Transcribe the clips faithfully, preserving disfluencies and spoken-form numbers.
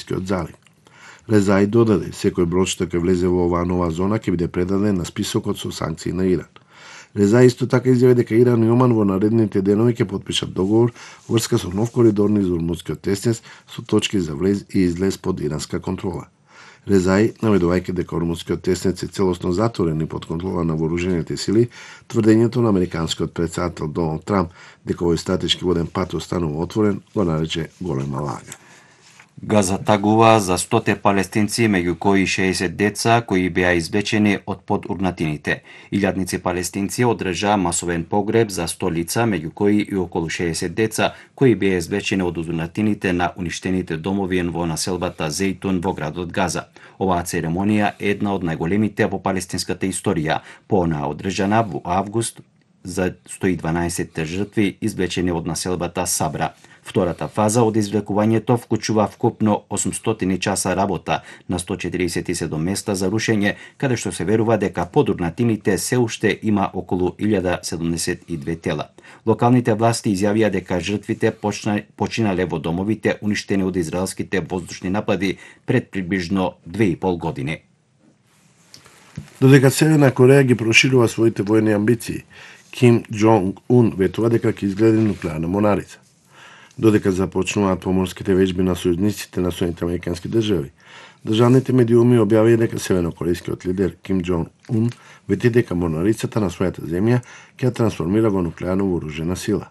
Ормускиот залив. Резаи додаде, секој брод што ќе влезе во оваа нова зона ќе биде предаден на списокот со санкции на Иран. Резаи исто така изјави дека Иран и Оман во наредните денови ќе потпишат договор врска со нов коридор низ Ормускиот теснес со точки за влез и излез под иранска контрола. Резаи, наведувајќи дека Ормускиот теснец е целосно затворен и под контрола на вооружените сили, тврдењето на американскиот претседател Доналд Трамп дека овој стратешки воден пат останува отворен го нарече голема лага. Газа тагува за стоте палестинци, меѓу кои шеесет деца кои беа извлечени од подурнатините. Илјадници палестинци одржаа масовен погреб за сто лица, меѓу кои и околу шеесет деца кои беа извлечени од урнатините на уништените домови во населбата Зейтун во градот Газа. Оваа церемонија е една од најголемите во палестинската историја, поонаа одржана во август за сто и дванаесет жртви извлечени од населбата Сабра. Втората фаза од извлекувањето вклучува вкупно осумстотини часа работа на сто четиридесет и седум места за рушење, каде што се верува дека под урнатините се уште има околу илјада седумдесет и две тела. Локалните власти изјавија дека жртвите почна, починале во домовите уништени од израелските воздушни напади пред приближно две и пол години. Додека Северна Кореја ги проширува своите војни амбиции, Ким Џонг Ун ветува дека ќе изгради нуклеарна монарица. Додека започнуваат поморските вежби на сојузниците на Соединетите американски држави, државните медиуми објавија дека севернокорејскиот лидер Ким Џонг Ун вети дека монарицата на својата земја ќе ја трансформира во нуклеарно вооружена сила.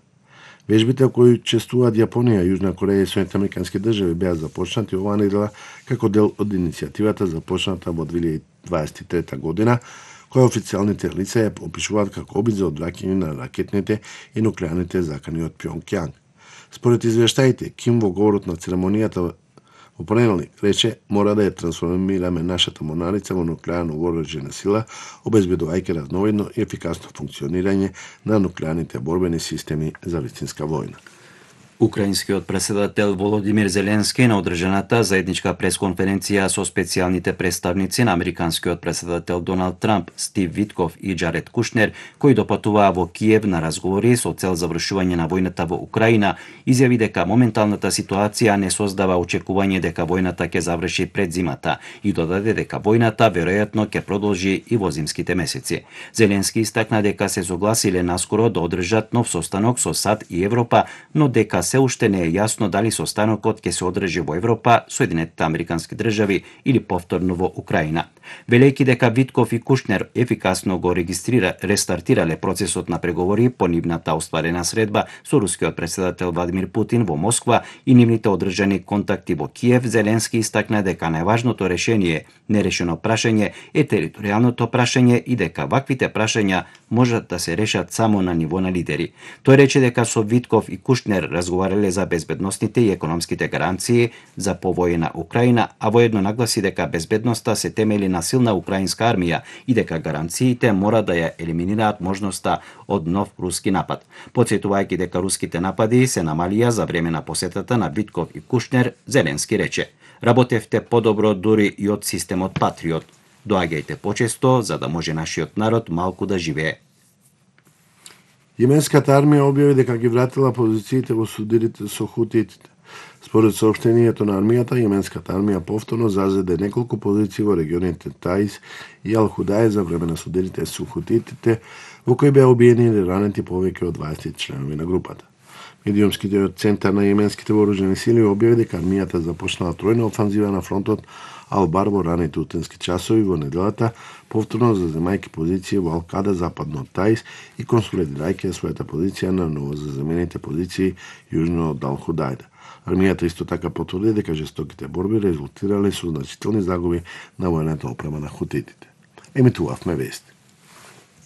Вежбите кои чествуваат Јапонија, Јужна Кореја и Соединетите американски држави беа започнати оваа недела како дел од иницијативата започната во две илјади дваесет и трета година, која официјалните лица ја опишуваат како обид за одвраќање на ракетните и нуклеарните закани од Пјонкјанг. Според извештаите, Ким во говорот на церемонијата во понеделник рече: "Мора да ја трансформираме нашата монарица во нуклеарно вооружена сила, обезбедувајќи разновидно и ефикасно функционирање на нуклеарните борбени системи за вистинска војна." Украинскиот председател Володимир Зеленски на одржаната заедничка пресконференција со специјалните представници на американскиот председател Доналд Трамп, Стив Витков и Џаред Кушнер, кои допатуваа во Киев на разговори со цел завршување на војната во Украина, изјави дека моменталната ситуација не создава очекување дека војната ќе заврши пред зимата и додаде дека војната веројатно ќе продолжи и во зимските месеци. Зеленски истакна дека се согласиле наскоро да одржат нов состанок со САД и Европа, но дека се уште не е јасно дали состанокот ќе се одржи во Европа, Соединетите американски држави или повторно во Украина. Велејќи дека Витков и Кушнер ефикасно го регистрира рестартирале процесот на преговори по нивната остварена средба со рускиот председател Владимир Путин во Москва и нивните одржани контакти во Киев, Зеленски истакна дека најважното решение, нерешено прашање, е територијалното прашање и дека ваквите прашања можат да се решат само на ниво на лидери. Тој рече дека со Витков и Кушнер разговарале за безбедностните и економските гаранции за повојна Украина, а воедно нагласи дека безбедноста се темели на силна украинска армија и дека гаранциите мора да ја елиминираат можноста од нов руски напад. Потсетувајќи дека руските напади се намалија за време на посетата на Витков и Кушнер, Зеленски рече: "Работевте подобро дури и од системот Патриот. Доаѓајте почесто за да може нашиот народ малку да живее." Јеменската армија објави дека ги вратила позициите во судирите со хутитите. Според соопштението на армијата, јеменската армија повторно зазеде неколку позиции во регионите Таис и Ал-Худај за време на судирите со хутитите, во кои беа убиени или ранети повеќе од дваесет членови на групата. Медиумскиот центар на јеменските вооружени сили објави дека армијата започнала тројна офанзива на фронтот Ал-Бар во раните утенски часови во неделата, повторно заземајќи позиции во Ал-Када западно од Таис и консолидирајќи својата позиција на новозаземените позиции јужно од Ал-Худајда. Армијата исто така потврди дека жестоките борби резултирале со значителни загуби на војната опрема на хутитите. Емитувавме вести.